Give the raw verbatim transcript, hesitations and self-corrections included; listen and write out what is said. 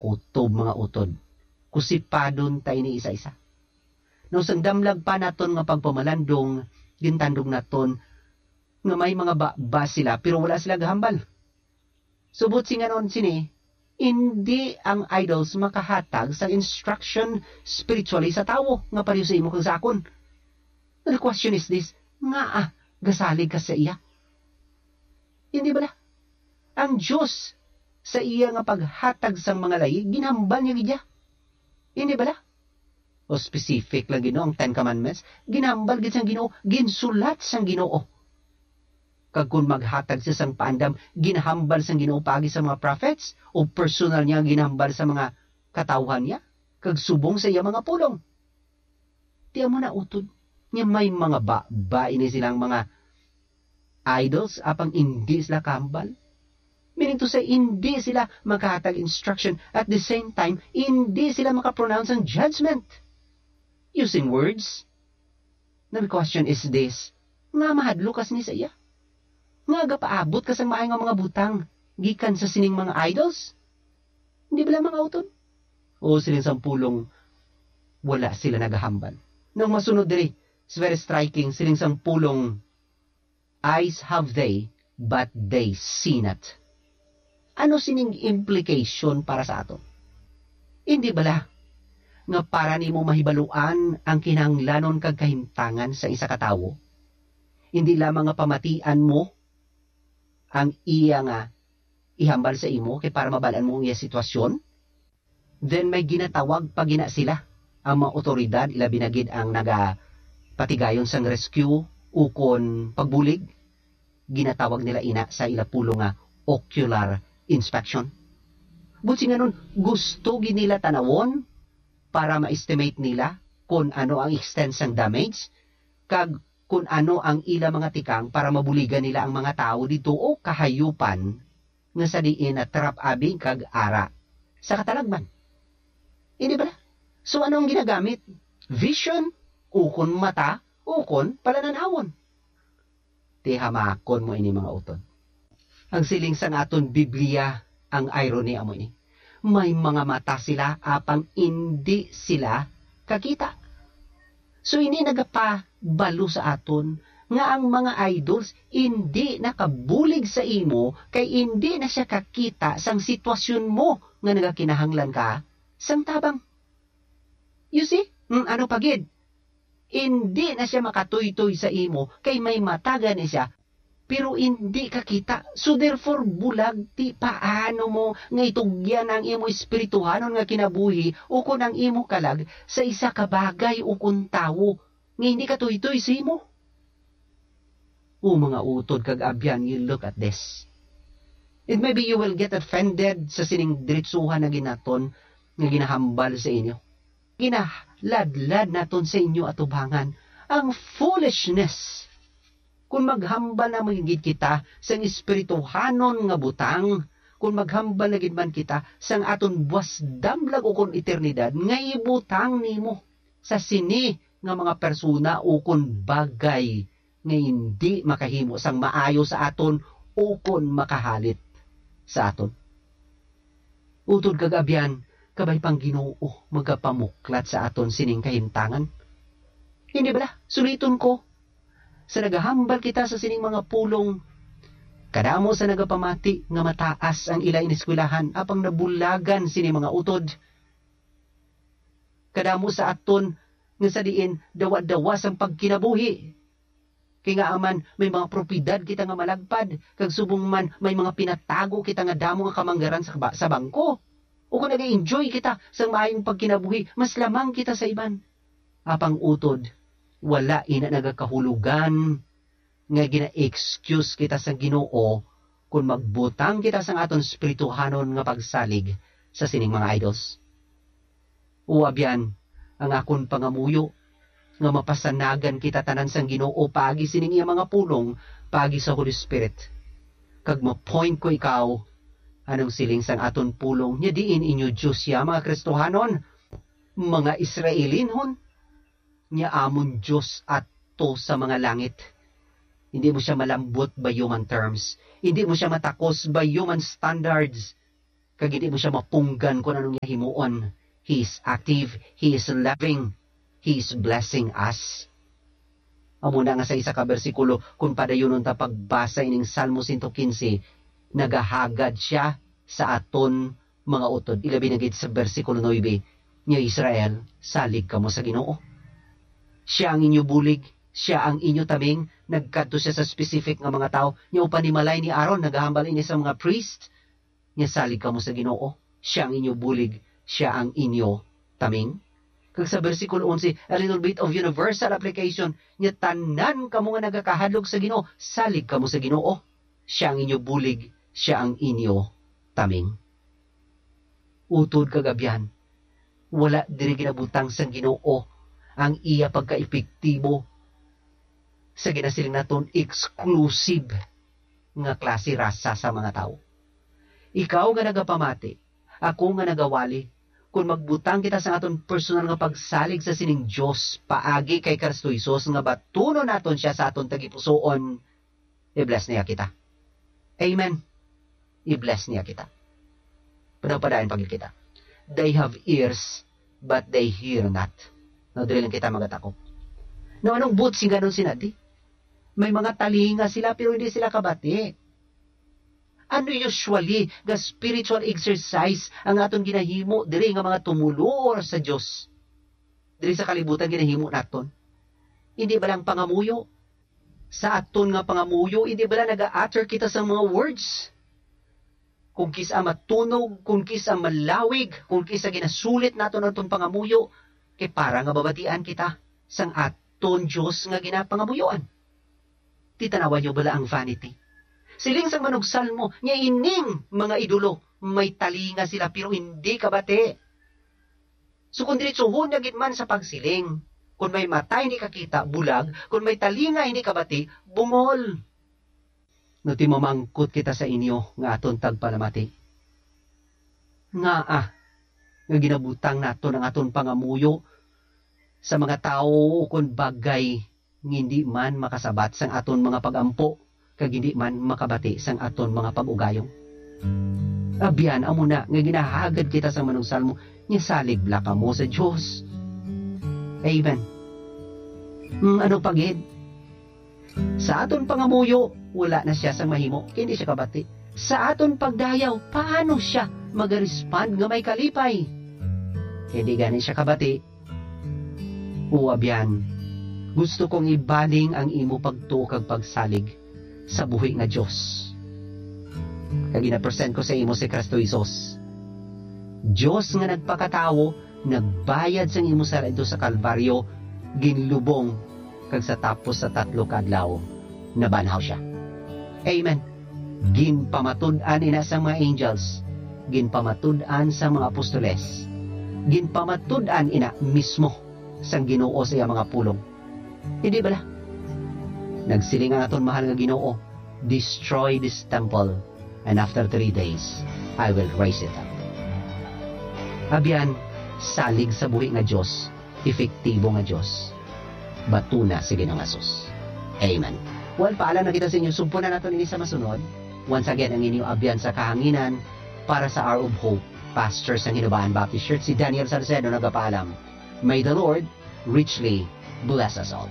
Kutob, mga utod, kusipadon ta ini isa-isa. Now, sang damlag pa naton nga pagpamalandong, gintandog naton nga may mga baba sila, pero wala sila gahambal. Subot singanon sini, indi ang idols makahatag sang instruction spiritually sa tawo nga pareho sa imo kag sa akon. Now, the question is this, ngaa gasalig ka sa iya? Hindi bala? Ang Dios sa iya nga paghatag sang mga layi, ginhambal niya gid ya. Hindi bala? O specific lang, Ginoo, ang Ten Commandments, ginhambal gid sang Ginoo, ginsulat sang Ginoo. Kag kon maghatag siya sang paandam, ginahambal sang Ginoo paagi sa mga prophets, o personal niya ginahambal sa mga katawhan niya, kag subong sa iya mga pulong. Ti amo na, utod, nga may mga ba, ba ini silang mga idols, apang indi sila kahambal? Meaning to say, indi sila makahatag instruction, at the same time, indi sila makapronounce ang judgment using words. Now, the question is this, nga mahadlok ka sini sa iya? Nga gapaabot ka sang maayo nga mga butang gikan sa sining mga idols? Hindi bala, mga utod? O, siling sang pulong, wala sila nagahambal. Nang masunod diri, it's very striking, siling sang pulong, "Eyes have they, but they see not." Ano sining implication para sa aton? Hindi bala nga para nimo mahibaluan ang kinahanglanon kag kahimtangan sa isa ka tawo, hindi lamang nga pamatian mo ang iya nga ihambal sa imo kay para mabal-an mo ang iya sitwasyon? Then may ginatawag pa gina sila, ang mga otoridad, ilabi na gid ang nagapatigayon sang rescue ukon pagbulig. Ginatawag nila ina sa ila pulong nga ocular inspection. Buot singanon, gusto gid nila tanawon para ma-estimate nila kon ano ang extent sang damage kag kon ano ang ila mga tikang para mabuligan nila ang mga tawo didto o kahayupan nga sa diin natrap abi kag ara sa katalagman. Hindi bala? So, ano ang ginagamit? Vision, ukon mata, ukon palanan-awon. Ti hamakon mo ini, mga utod. Ang siling sang aton Biblia, ang irony amo ini. May mga mata sila, apang indi sila kakita. So, ini nagapabalo sa aton nga ang mga idols indi nakabulig sa imo kay indi na sia kakita sang sitwasyon mo nga nagakinahanglan ka sang tabang. You see? Mm, ano pa gid? Indi na sia makatuytoy sa imo kay may mata gani sia, pero indi ka kita. So therefore, bulag ti paano mo nga itugyan ang imo espirituhanon nga kinabuhi ukon ang imo kalag sa isa ka bagay ukon tawo nga hindi katuytoy sa imo? O mga utod kag abyan, you look at this. And maybe you will get offended sa sining diretsuhan na ginaton nga ginahambal sa inyo. Ginaladlad naton sa inyo atubangan ang foolishness. Kung maghambal na man gid kita sang espirituhanon nga butang, kung maghambal na gid man kita sang aton buas damlag ukon eternidad nga ibutang nimo sa sini nga mga persona ukon bagay nga indi makahimo sang maayo sa aton ukon makahalit sa aton. Utod kag abyan, kabay pang Ginoo magapamuklat sa aton sining kahimtangan. Hindi bala? Suliton ko, sa nagahambal kita sa sining mga pulong, kadamo sa nagapamati nga mataas ang ila ineskwelahan, apang nabulagan sini mga utod. Kadamo sa aton nga sa diin dawa-dawa sang pagkinabuhi. Kay ngaa man, may mga propiedad kita nga malagpad, kag subong man may mga pinatago kita nga damo nga kamanggaran sa ba-, sa bangko. O kung nag-enjoy kita sa maayong pagkinabuhi, mas lamang kita sa iban. Apang utod, wala ina nagakahulugan nga gina-excuse kita sa Ginoo kon magbutang kita sang aton espirituhanon nga pagsalig sa sining mga idols. O abyan, ang akon pangamuyo nga mapasanagan kita tanan sang Ginoo paagi sining iya mga pulong, paagi sa Holy Spirit. Kag ma-point ko ikaw, anong siling sang aton pulong, nya diin inyo Dios sia, mga Kristohanon, mga Israelinhon, nya amon Dios ato sa mga langit. Hindi mo siya malambot by human terms. Hindi mo siya matakos by human standards. kag hindi mo siya mapunggan kung anong iya himuon. He is active, He is loving, He is blessing us. Amo na nga sa isa ka bersikulo, kung padayunon ta pagbasa ining Salmo sento quince, nagahagad siya sa aton mga utod, ilabi na gid sa bersikulo nuebe, nga, "Israel, salig kamo sa Ginoo. Siya ang inyo bulig, siya ang inyo taming." Nagkadto siya sa specific nga mga tawo. Nya, upanimalay ni Aaron, nagahambal ini sa mga priest, nga, "Salig kamo sa Ginoo, siya ang inyo bulig, siya ang inyo taming." Kag sa bersikulo onse, a little bit of universal application, nga, "Tanan kamo nga nagakahadlok sa Ginoo, salig kamo sa Ginoo, siya ang inyo bulig, siya ang inyo taming." Utod kag abyan, wala diri ginabutang sang Ginoo ang iya pagkaepektibo sa ginasiling naton exclusive nga klase rasa sa mga tawo. Ikaw nga nagapamati, ako nga nagawali, kon magbutang kita sa aton personal nga pagsalig sa sining Dios paagi kay Kristo Jesus nga batunon naton sia sa aton tagipusoon, i-bless niya kita. Amen. I-bless niya kita. Padayon pa gid kita. "They have ears, but they hear not." No, diri lang kita magatakop. No, anong buot sing ganon sinadi? May mga talinga sila, pero hindi sila kabati. Ano usually nga spiritual exercise ang aton ginahimo diri nga mga tumoluo sa Dios? Diri sa kalibutan ginahimo naton. Hindi ba lang pangamuyo? Sa aton nga pangamuyo, hindi ba lang naga-utter kita sa mga words? Kung kis-a matunog, kung kis-a malawig, kung kis-a ginasulit naton ang aton pangamuyo, kay para nga babatian kita sang aton Dios nga ginapangamuyoan. Titanawan niyo bala ang vanity? Siling sang manugsalmo, nga ining mga idolo may talinga sila, pero hindi kabati. So, kung diretsuhon na gid man sa pagsiling, kung may mata hindi kakita, bulag, kung may talinga hindi kabati, bungol. No, timamangkot kita sa inyo nga aton tagpalamati. Ngaa nga ginabutang naton ang aton pangamuyo sa mga tawo ukon bagay nga hindi man makasabat sang aton mga pag-ampo, kag hindi man makabati sang aton mga pag-ugayon? Abyan, amo na nga ginahagad kita sang manugsalmo, nga salig bala kamo sa Dios. Amen. Mm, ano pa gid? Sa aton pangamuyo, wala na sia sang mahimo, kay hindi sia kabati. Sa aton pagdayaw, paano sia maga-respond nga may kalipay? Hindi gani sia kabati. O abyan, gusto kong ibaling ang imo pagtuo kag pagsalig sa buhi nga Dios. Kag ginapresent ko sa imo si Kristo Jesus, Dios nga nagpakatawo, nagbayad sang imo sala didto sa Kalbaryo, ginlubong, kag sa tapos sa tatlo ka adlaw, nabanhaw sia. Amen. Ginpamatud-an ina sang mga angels, ginpamatud-an sang mga apostoles, ginpamatud-an ina mismo sang Ginoo sa iya mga pulong. Hindi bala? Nagsiling ang aton mahal nga Ginoo, "Destroy this temple, and after three days, I will raise it up." Abyan, salig sa buhi nga Dios, epektibo nga Dios, batuna si Ginoong Jesus. Amen. Well, paalam na kita sa inyo. Sugpo na naton ini sa masunod. Once again, ang inyo abyan sa kahanginan para sa Hour of Hope, Pastor sang Hinubaan Baptist Church, si Daniel Salcedo, nagapaalam. May the Lord richly bless us all.